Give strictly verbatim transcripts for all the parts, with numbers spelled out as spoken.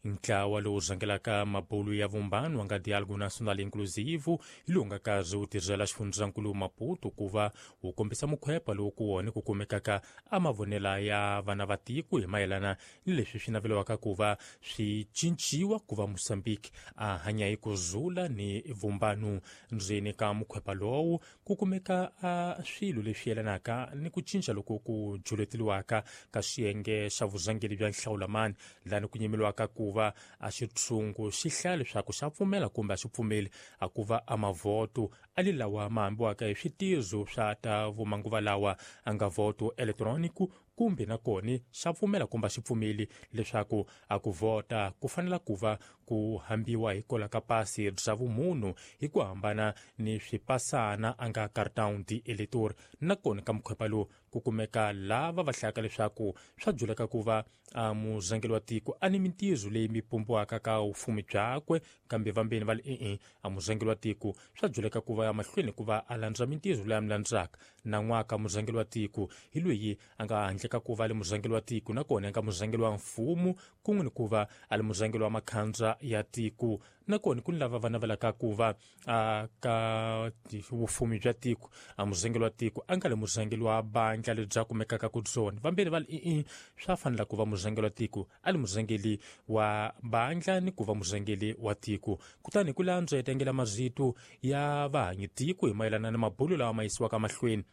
Ntlawa lowu rhangelaka mabulu ya vumbano nga Diálogo Nacional Inclusivo hi lowu nga karhi wu tirhela xifundzankulu Maputo ku va wu kombisa mukhwepa lowu ku wona ku kumekaka a mavonela ya vana va tiko hi mayelana ni leswi swi naveliwaka ku va swi cinciwa ku va Mozambique a hanya hi ku zula ni vumbano. Ndzeni ka mukhwepa lowu ku kumeka a swilo leswi yelanaka ni ku cinca loko ku juleteliwaka ka xiyenge xa vurhangeri bya nhlawulamani, lani ku nyimeliwaka ku va a xitshungu xi hlaya leswaku xa pfumela kumbe a xi pfumeli a ku va a mavhoto a li lawa ma hambiwaka hi switizo swa ta vumanguva lawa a nga voto elektroniki, kumbe na kona xa pfumela kumbe a xi pfumeli leswaku a ku vhota ku fanela ku va ku hambiwa hi kola ka pasi bya vumunhu hi ku hambana ni swipasana a nga cartão de eleitor. Na kona ka mukhwepa lowu ku kumeka lava va hlayaka leswaku swa juleka ku va a murhangeri wa tiko a ni mintirho leyi mi pumbiwaka ka vufumi byakwe, kambe vambeni va li e-e a murhangeri wa tiko swa juleka ku va ya mahlweni ku va a landza mintirho leyi a mi landzaka. Nan'waka murhangeri wa tiko hi loyi a nga handle ka ku va a li murhangeri wa tiko na kona a nga murhangeri wa mfumo kun'we ni ku va a li murhangeri wa makhandza ya tiko. Na kona ku ni lava va navelaka ku va a ka vufumi bya tiko a murhangeri wa tiko a nga li murhangeri wa bandla lebyi a kumekaka ku byona. Vambirhi va li e-e swa fanela ku va murhangeri wa tiko a li murhangeri wa bandla ni ku va murhangeri wa tiko. Kutani ku landzwa etengela marito ya vahanyi tiko hi mayelana na mabulo lawa ma yisiwaka mahlweni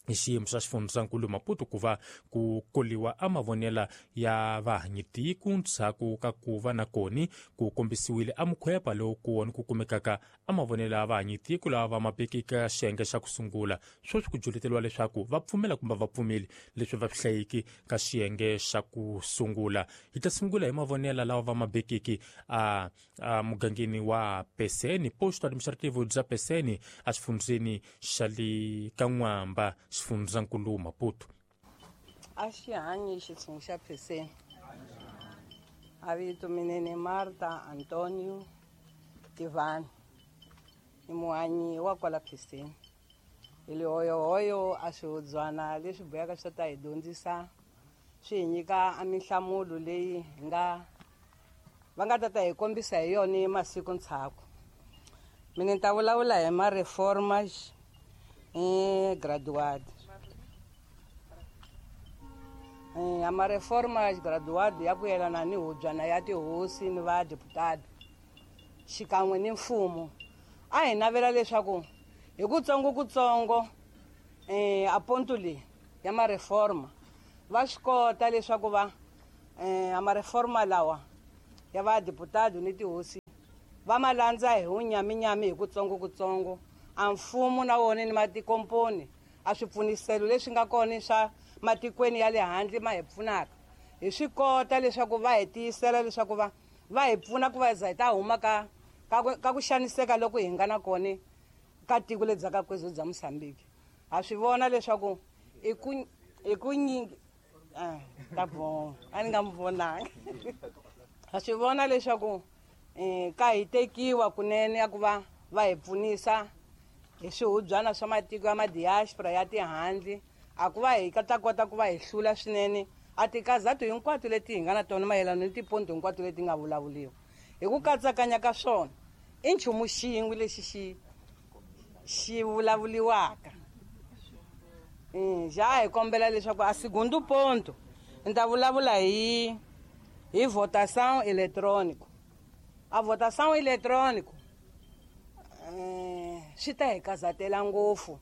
hi xiyimo xa xifundzankulu Maputo ku va ku koliwa a mavonela ya vahanyi tiko ndzhaku ka ku va na koni ku kombisiwile a mukhwepa lowu ku wona ku kumekaka a mavonela ya vahanyi tiko lava va mabekeke xiyenge xa ku sungula. Sweswi ku juleteriwa leswaku va pfumela kumbe va pfumeli leswi va swi hlayiki ka xiyenge xa ku sungula. Hi ta sungula hi mavonela lawa va mabekeke a a mugangeni wa Peseni, posto administrativo bya Peseni a xifundzeni xa le ka N'wamba, xifundzankulu Maputo. A xi hanyi xitshungu xa Peseni. A vito minene Marta Antonio Tivani, i muhanyi wa kwala Peseni. Hi lihoyohoyo a swihudzwana leswi buyaka swi ta hi dyondzisa, swi hi nyika a minhlamulo leyi hi nga va nga ta ta hi kombisa hi yona masiku ndzhaku. Mina ni ta vulavula hi ma reformas eh graduado. Eh ama reformas graduado ya ku yelana ni hubyana ya tihosi ni va deputado xikan'we ni mfumo. A hi navela leswaku hi kutsongo kutsongo eh a ponto leyi ya ma reforma va swi kota leswaku va eh ama reforma lawa ya va deputado ni tihosi va ma landza hi wunyaminyami hi kutsongo kutsongo. A mfumo na wona ni matikomponi a swipfuniselo leswi nga kona swa matikweni ya le handle ma hi pfunaka hi swi kota leswaku va hi tiyisela leswaku va va hi pfuna ku va za hi ta huma ka ka ku xaniseka loko hi nga na kona ka tiko lebyi ka kwezo bya Mozambique. Ha swi vona leswaku i ku i ku nyingi ah ta bon a ni nga mi vonanga. Ha swi vona leswaku eh ka hi tekiwa kunene ya ku va va hi pfunisa hi swihubyana swa matiko ya madiaspora ya tihandle a ku va hi ta kota ku va hi hlula swinene a tikazatu hinkwato leti hi nga na tona mayelana ni tiponto hinkwato leti nga vulavuliwa. Hi ku katsakanya ka swona i nchumu xin'we lexi xi xi vulavuliwaka. Ja hi kombela leswaku a segundo ponto ni ta vulavula hi hi votação eletrônico. A votação eletrônico eh swi ta hi kazatela ngopfu.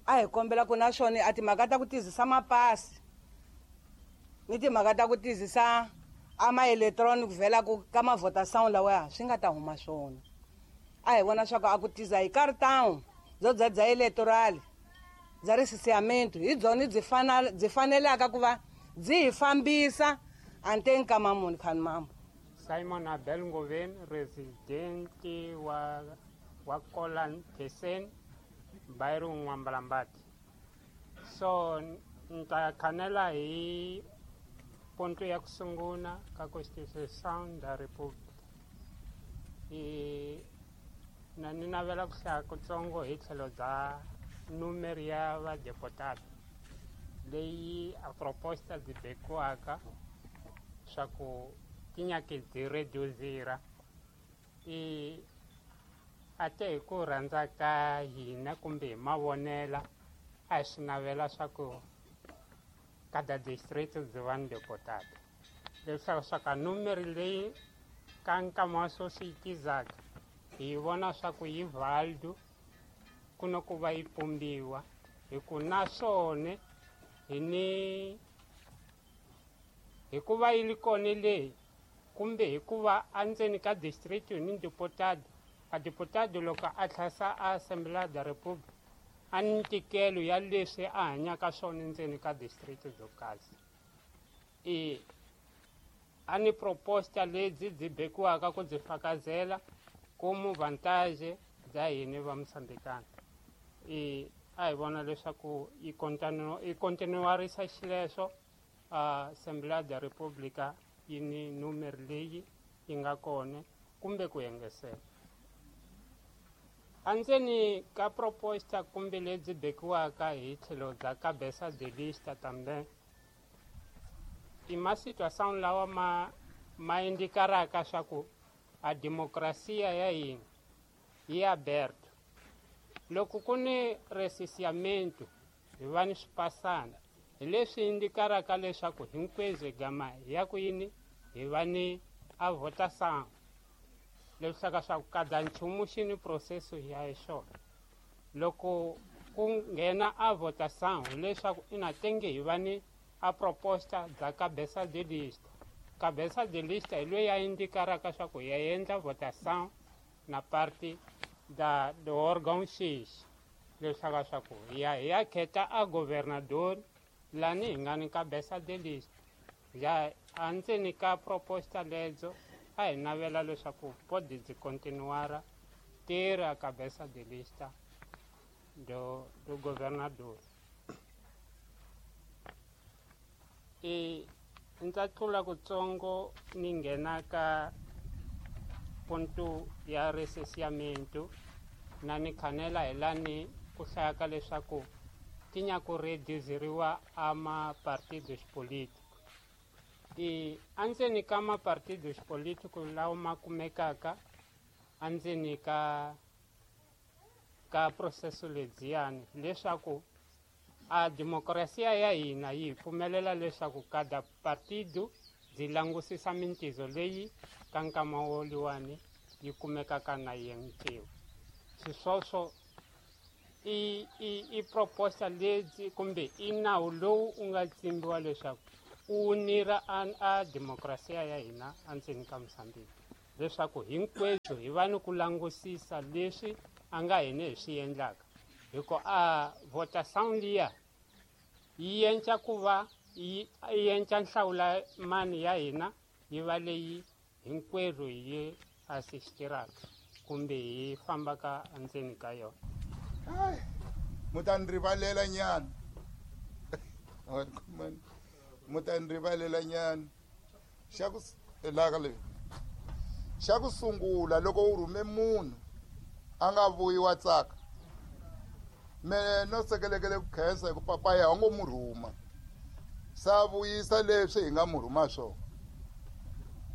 A hi kombela ku na swona a timhaka ta ku tizisa mapasi ni timhaka ta ku tizisa a ma electronic vhela ku ka ma votação lawa swi nga ta huma swona. A hi vona swa ku a ku tiza hi cartão byo bya bya electoral bya recenseamento hi byona byi fanele byi fanelaka ku va byi hi fambisa anteni ka mamuni khani mambo. Simon Abel Ngoven, residente wa wa Kolan Peseni, bairro N'wambalambati. So nta khanela hi ponto ya ku sungula ka Constituição da República. I na ni navela ku hlaya kutsongo hi tlhelo bya numero ya vadeputado leyi a proposta byi bekiwaka swa ku ti nyake byi reduzira i a te hi ku rhandza ka hina kumbe hi mavonela a hi swi navela swa ku kada district byi va ni deputado leswaku swa ka numeri leyi ka nkama wa sweswi yi tizaka hi vona swa ku yi valdu ku na ku va yi pumbiwa hi ku naswona hi ni hikuva yi li kona leyi kumbe hikuva endzeni ka district ni deputado a deputado loko a tlhasa a Assembleia da República a ni ntikelo ya leswi a hanyaka swona ndzeni ka district byo kahle i a ni proposta lebyi byi bekiwaka ku byi fakazela como vantagem bya hina va Moçambicana i a hi vona leswaku yi continue yi continuarisa xileswo a Assembleia da República yi ni numeri leyi yi nga kona kumbe ku engesela andzeni ka proposta kumbe lebyi bekiwaka hi tlhelo bya cabeça de lista também i ma situação lawa ma ma indicaraka swa ku a democracia ya hina yi aberto loko ku ni recenseamento hi va ni swipasana hi leswi indicaraka leswaku hinkwenu gama ya ku yini hi va ni a votação leswaku swa ku kada nchumu xi ni processo ya xona loko ku nghena a votação hileswaku ina tenge hi va ni a proposta bya cabeça de lista cabeça de lista hi loyi a indicaraka swa ku ya endla votação na parte da do órgão X leswaku swa ku hi ya hi ya khetha a governador lani hi nga ni cabeça de lista ya andzeni ka proposta ledzo a hi navela leswaku pode byi continuara ter a cabeça de lista do do governador e ndza tlula kutsongo ni nghena ka ponto ya recenseamento na ni khanela hi lani ku hlayaka leswaku ti nyaka reduziriwa a mapartidos políticos i andzeni ka mapartidos políticos lawa ma kumekaka andzeni ka ka processo ledziyani leswaku a democracia ya hina yi pfumelela leswaku kada partido byi langusisa mintizo leyi ka nkama woliwani yi kumekaka na yenkiwa xiswoswo i i i proposta lebyi kumbe i nawu lowu u nga tsimbiwa leswaku u nira a, a democracia ya hina endzeni ka Mozambique leswaku hinkwenu hi va ni ku langusisa leswi a nga hina hi swi endlaka hikuva a votação liya yi endla ku va yi endla nhlawula mani ya hina yi va leyi hinkwerhu hi assistiraka kumbe hi fambaka endzeni ka yona. Hayi mu ta ni rivalela nyana mu ta ni rivalela nyana xa ku laka leyi xa ku sungula loko u rhume munhu a nga vuyi wa tsaka me no sekelekele ku khensa hi ku papaya wa ngo mu rhuma sa vuyisa leswi hi nga mu rhuma swona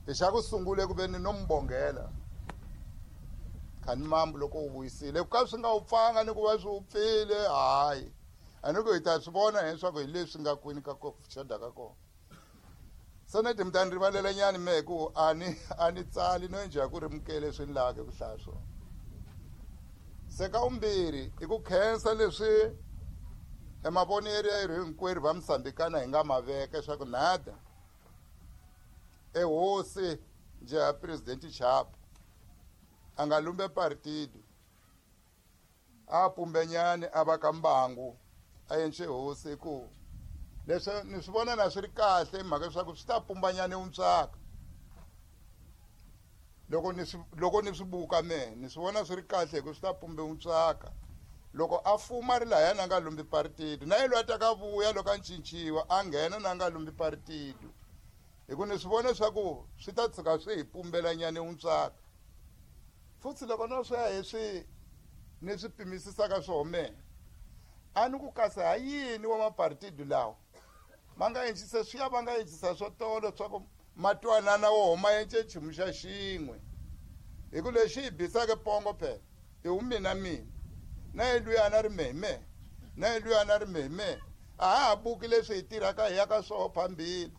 hi xa ku sungule ku ve ni no mu bongela khani mambu loko u vuyisile ku ka swi nga wu pfanga ni ku va swi wu pfile hayi a ni ku hi ta swi vona leswaku hi leswi nga kwini ka ku xoda ka kona se ni mi ta ni rivalela nyana me hi ku a ni a ni tsali no njha ku ri mukele swi ni laka ku hlaya swona se ka vumbirhi i ku khensa leswi emavonelo ya yirhu hinkwerhu va Mozambikana hi nga ma veka leswaku nada ehosi njhe president Chapo a nga lumbe partido a pumbenyani a va ka mbangu a yenxe hosi ku leswi ni swi vona na swi ri kahle mhaka leswaku swi ta pumbanyani wuntswaka loko ni swi loko ni swi buka me ni swi vona swi ri kahle hi ku swi ta pumbe wuntswaka loko a fuma ri lahaya na nga lumbi partido na ye loyi a ta ka vuya loko a cinciwa a nghena na nga lumbi partido hi ku ni swi vona leswaku swi ta tshuka swi hi pumbelanyani wuntswaka futhi loko no swi ya hi swi ni swi pimisisaka swona me a ni ku kasi ha yini wa mapartido lawa ma nga encisa swi ya va nga encisa swo tolo swa ku Ma twanana woho ma ence nchumu xa xin'we. Hi ku lexi hi bisaka pongo phela i wu mina mina na ye luya na ri meme na ye luya na ri meme a ha ha buki leswi hi tirhaka hi ya ka swoho phambili.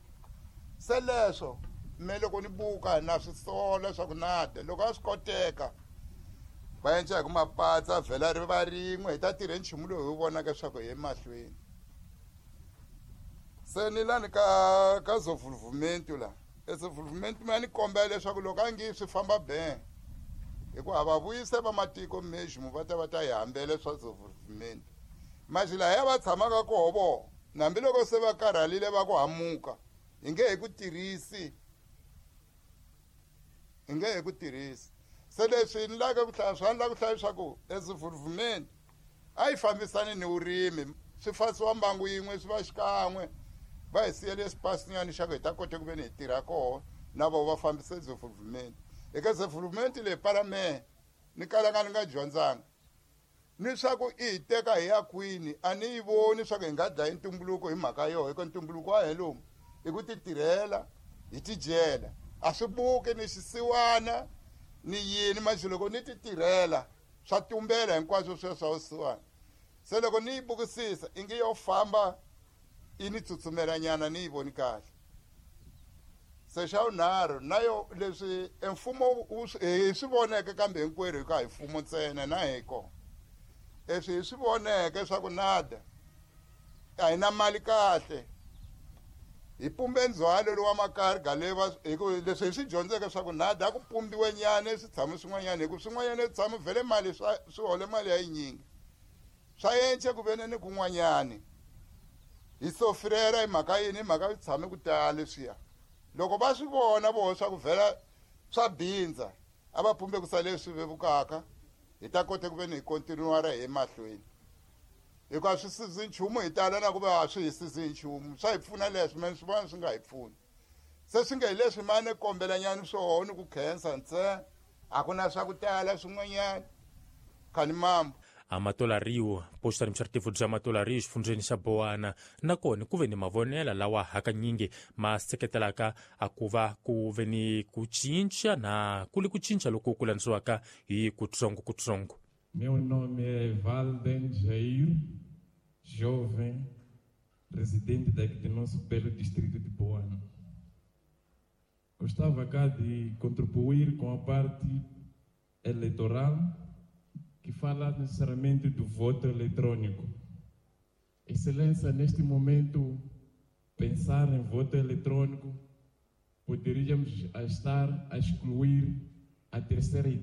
Se leswo me loko ni buka na swi sola swa ku nada loko a swi koteka va enca hi ku mapatsa vhela ri va rin'we hi ta tirhe nchumu lowu hi wu vonaka leswaku hi emahlweni. Se ni lani ka ka desenvolvimento la desenvolvimento ma ni kombela leswaku loko a ngi swi famba ben hikuva a va vuyise va matiko mesmo va ta va ta hi hambele swa desenvolvimento. Maxi lahaya va tshamaka koho vo hambiloko se va karhalile va ku hamuka hi nge he ku tirhisi hi nge he ku tirhisi. Se leswi ni lava ku hlaya swa ni lava ku hlaya leswaku desenvolvimento a yi fambisani ni vurimi swi fasiwa mbangu yin'we swi va xikan'we va hi siyele xipasinyana xa ku hi ta kota ku ve ni hi tirha koho na vo va fambisa desenvolvimento. Eka desenvolvimento leyi palamende ni kalanga ni nga dyondzanga ni swa ku i hi teka hi ya kwini a ni yi voni swa ku hi nga dlayi ntumbuluko hi mhaka yoho hikuva ntumbuluko wa he lomu i ku ti tirhela hi tidyela a swi buki ni xisiwana ni yini manjhe loko ni ti tirhela swa tumbela hinkwaswo sweswo swa vusiwana. Se loko ni yi bukisisa i nge yo famba i ni tsutsumelanyana ni yi voni kahle. Se xa vunharhu na yo leswi e mfumo hi swi voneke kambe hinkwerhu hi ka hi mfumo ntsena na hi kona leswi hi swi voneke swa ku nada a hi na mali kahle hi pumbe ndzhwalo lowa makarga leyi va hi ku leswi hi swi dyondzeke swa ku nada a ku pumbiwe nyana switshamo swin'wanyana hi ku swin'wanyana swi tshama vhele mali swa swi hole mali ya yinyingi swa ence ku vene ni kun'wanyani hi sofirela hi mhaka yini hi mhaka swi tshame ku tala leswiya. Loko va swi vona voho swa ku vhela swa bindza a va pumbe ku sale leswi vevukaka hi ta kota ku ve ni hi kontinuara hi emahlweni hikuva swi sizi nchumu hi tala na ku va a swi hi sizi nchumu swa hi pfuna leswi mene swi vona swi nga hi pfuni. Se swi nge hi leswi mane kombelanyana swoho ni ku khensa ntsena a ku na swa ku tala swin'wanyana khani mambo. Amatola Rio, posto administrativo bya Amatola Rio xifundzheni xa Boana nakona ku ve ni mavonelo lawa hakanyingi ma seketelaka a ku va ku ve ni ku cinca na ku li ku cinca loku ku landziwaka hi kutsongo-kutsongo. Meu nome é Valden Jair, jovem, residente daqui do nosso belo distrito de Boana. Gostava cá de contribuir com a parte eleitoral que fala necessariamente do voto eletrônico. Excelência, neste momento, pensar em voto eletrônico, poderíamos estar a excluir a terceira idade.